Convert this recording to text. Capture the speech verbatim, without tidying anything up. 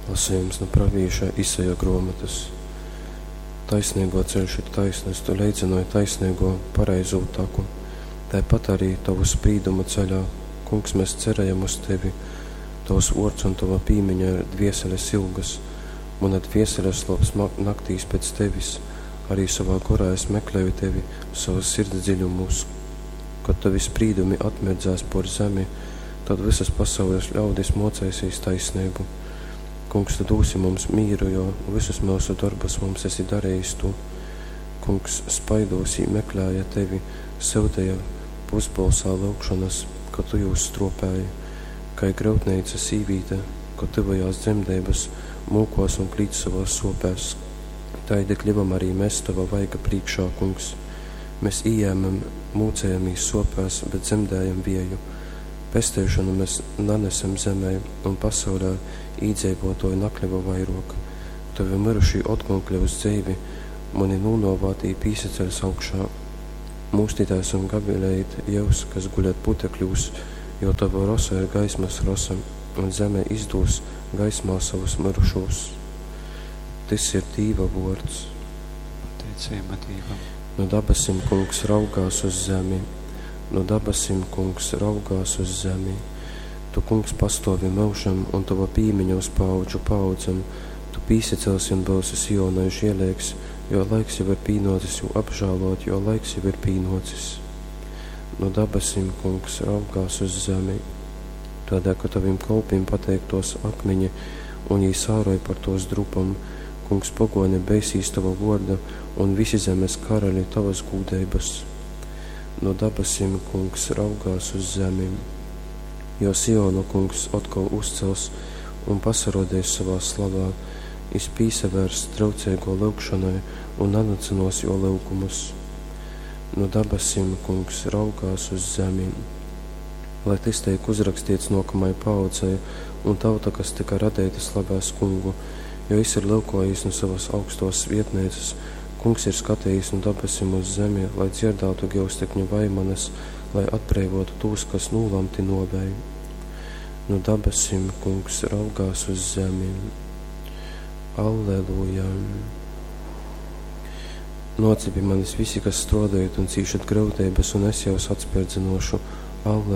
Lasejums nu pravīša Isaja gruomotys. Taisneiguo ceļš ir taisnys, tu leidzynoj taisneiguo pareizū taku. Taipat arī tovu sprīdumu ceļā, Kungs, mēs cerējam uz tevi. Tovs vuords un tova pīmiņa ir dvieseles ilgas. Muna dviesele slops naktīs pēc tevis, arī sovā gorā es meklēju tevi savas sirds dziļumūs. Kad tovi sprīdumi atmirdzēs por zemi, tad visas pasaules ļaudis mocēsīs taisneibu. Kungs, tu dūsi mums mīru, jo visus mūsu darbus mums esi darījis tu. Kungs, spaidūs jī meklēja tevi, syutīja pusbolsā lyugšonas, ka tu jūs stropēji. Kai gryutneica sīvīte, kad tuvojās dzemdeibas, mūkos un klīdz savās sopēs. Taidi kļuvam arī mēs tava vaiga prīkšā, kungs. Mēs ījēmam, mūcējamīs sopēs, bet dzemdējam vieju. Pesteišanu mēs nanesam zemē, un pasaulē īdzeivotoju nakļuva vairok. Tavi mirušī otkon kļūs dzeivi, mani nūnovātī pīsaceļs augšā. Mūstitēs un gavilējit jūs, kas guļat putekļūs, jo tava rosa ir gaismas rosa, un zeme izdūs gaismā savus mirušos. Tys ir Dīva vuords. Pateiceiba Dīvam. Nu dabasim kungs raugās uz zemi, nu dabasim kungs raugās uz zemi. Tu, kungs, pastovi myužam, un tava pīmiņa uz paaudžu paaudzem. Tu pīsacelsi un būsi Sionai žēlīgs, jo laiks jau ir pīnocis jū apžēlot, jo laiks jau ir pīnocis. No dabasim, kungs, raugās uz zemi, tādēļ, ka tavim kolpim pateiktos akmeņi, un jī sāroj par tos drupam. Kungs, pagoni beisīs tava vorda, un visi zemes karaļi tavas gūdeibas. No dabasim, kungs, raugās uz zemi, jo Sionu kungs atkal uzcels un pasarodēs savā slavā, jis pīsavērs traucīgo lyugšanai un nanacynuos juo lyugumus. No dabasim, kungs, raugās uz zemi, lai tys teik uzrakstīts nākamai paaudzei, un tauta, kas tika radeita, slavēs kungu, jo jis ir lyukojis no savas augstos vietnēcas, kungs ir skatījis no dabasim uz zemi, lai dzirdātu gyustekņu vaimanas, lai atbreivotu tūs, kas nūlamti nuovei. No dabasim, kungs, raugās uz zemi. Alleluja! Nōcit pie manis visi, kas strādājat un cīšat grūtības, un es jūs atspērdzinošu. Alleluja!